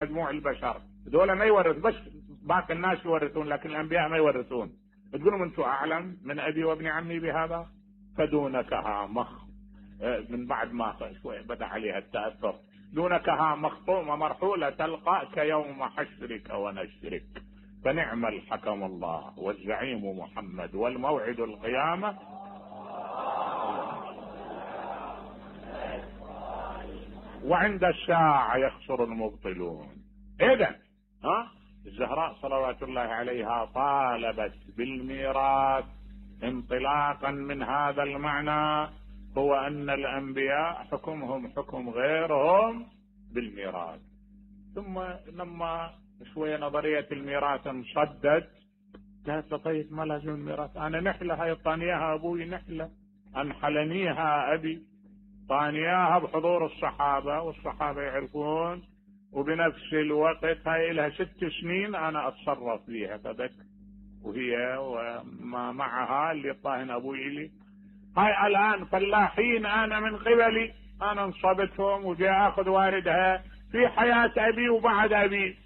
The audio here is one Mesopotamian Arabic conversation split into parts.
مجموع البشر، دول ما يورث، بس باقي الناس يورثون لكن الانبياء ما يورثون. تقولون انتم اعلم من ابي وابن عمي بهذا؟ فدونكها من بعد ما شوي بدا عليها التاثر، دونكها مخطومه مرحوله تلقاك يوم حشرك ونشرك، فنعم الحكم الله والزعيم محمد والموعد القيامه. وعند الساعه يخسر المبطلون. اذا الزهراء صلوات الله عليها طالبت بالميراث انطلاقا من هذا المعنى، هو ان الانبياء حكمهم حكم غيرهم بالميراث. ثم لما شوية نظرية الميراث انصدت، قالت طيب ما لازم الميراث، انا نحلة هاي طانياها ابوي، نحلة انحلنيها ابي، طانياها بحضور الصحابة والصحابة يعرفون، وبنفس الوقت هاي لها 6 سنين انا اتصرف فيها فبك، وهي وما معها اللي طاهن ابوي لي. هاي الان فلاحين انا من قبلي، انا انصبتهم وجاء اخذ واردها في حياة ابي وبعد ابي.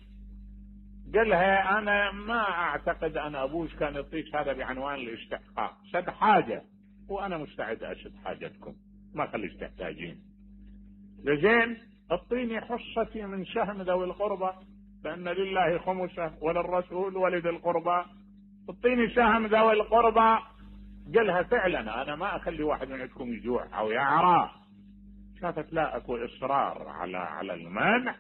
قالها انا ما اعتقد ان ابوش كان يعطيك هذا بعنوان الاستحقاق، سد حاجة وانا مستعد اشد حاجتكم، ما خليش تحتاجين. لزين اعطيني حصتي من سهم ذوي القربى، لان لله خمسه وللرسول ولذي القربى، اعطيني سهم ذوي القربى. قالها فعلا انا ما اخلي واحد من عندكم يجوع او يعرى. شافت لا اكو اصرار على المنع،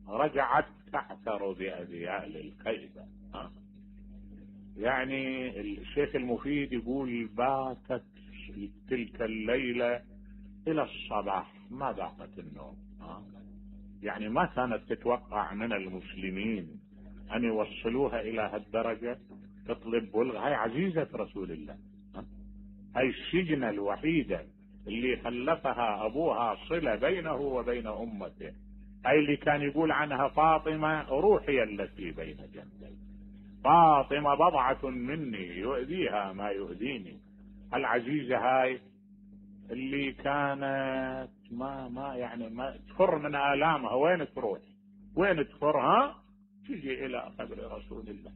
رجعت تعثر باذيال الخيبه. يعني الشيخ المفيد يقول باتت تلك الليله الى الصباح ما ذاقت النوم. يعني ما كانت تتوقع من المسلمين ان يوصلوها الى هالدرجه، تطلب بلغ. هاي عزيزه رسول الله، هاي السجنه الوحيده اللي خلفها ابوها صله بينه وبين امته، هاي اللي كان يقول عنها فاطمه روحي التي بين جنبي، فاطمه بضعه مني يؤذيها ما يؤذيني. العزيزه هاي اللي كانت ما تفر من آلامها، وين تروح وين تفرها؟ تجي الى قبر رسول الله.